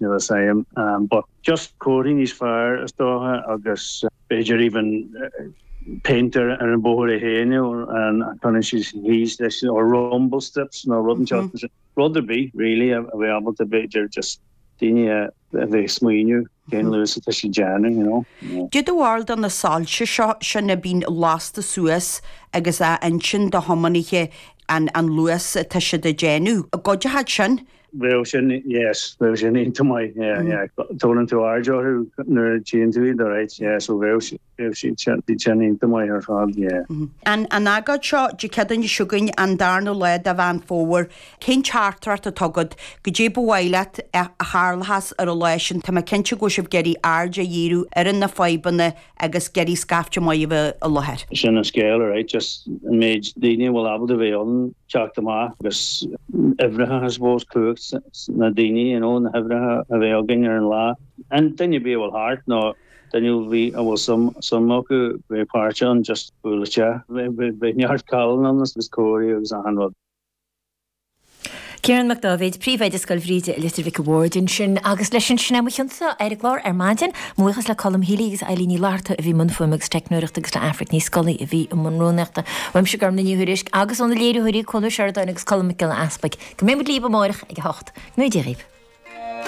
Níl a fhios agam but just comharthaí níos fearr is dócha agus b'fhéidir even péint ar an bóthar é féin you know and cuireann siad thíos leis or rumble strips nó rud inteacht rud ar bith really a bheith ábalta b'fhéidir just daoine a bheith ag smaoineamh cén luas atá siad déanamh you know. Cad é do bharúil de na soilse seo sin a bhíonn lasta suas agus á insint do thiománaithe an luas atá siad ag déanamh. An gcuideoidh sin? Bheadh sin, yes, bheadh sin iontach maith, yeah, yeah. Tabharann tú aird orthu nuair a tchíonn tú iad, alright, yeah, so bheadh bheadh siad sin, siad sin iontach maith ar fad, yeah. An an agóid seo Dé Céadaoine seo chugainn, an darna lá de Mheán Fómhair, cén teachtaireacht atá agat, goidé ba mhaith leat a tharlóchas ar an lá sin, tá mé cinnte go bhfuil sibh ag iarraidh aird a dhíriú ar na fadhbanna agus ag iarraidh scaifte maith a bheith i láthair. Sin an scéal, alright, just an méid daoine a bhfuil ábalta a bheith ann, teacht amach agus uimhreacha, I suppose, cumhacht na daoine, you know, na huimhreacha a bheith againn ar an lá. An duine ar bith a bhfuil thart nó duine a bhí a bhfuil suim suim acu bheith páirteach ann, just buail isteach. Beidh neart cailín ann agus comharthaí agus achan rud. Ciarán Mac Dáibhéid, Príomhoide Scoil Bhríde i Leitir Mhic a' Bhaird ansin agus leis sin, sin é mo chionsa ar an gclár ar maidin. Mo bhuíochas le Colm Healy agus Eilín Ní Fhlatharta a bhí i mbun fuaime agus teicneoireachta agus le Aifric Ní Scolaí a bhí i mbun rúnaíochta. Uaimse Gormlaith Ní Thuairisg agus ó na léiritheoirí Cuan Ó Seireadáin agus Colm Mac Giolla Easpaig. Go mbeidh muid libh amáireach ag a hocht. Go ngnóthaí Dia dhaoibh.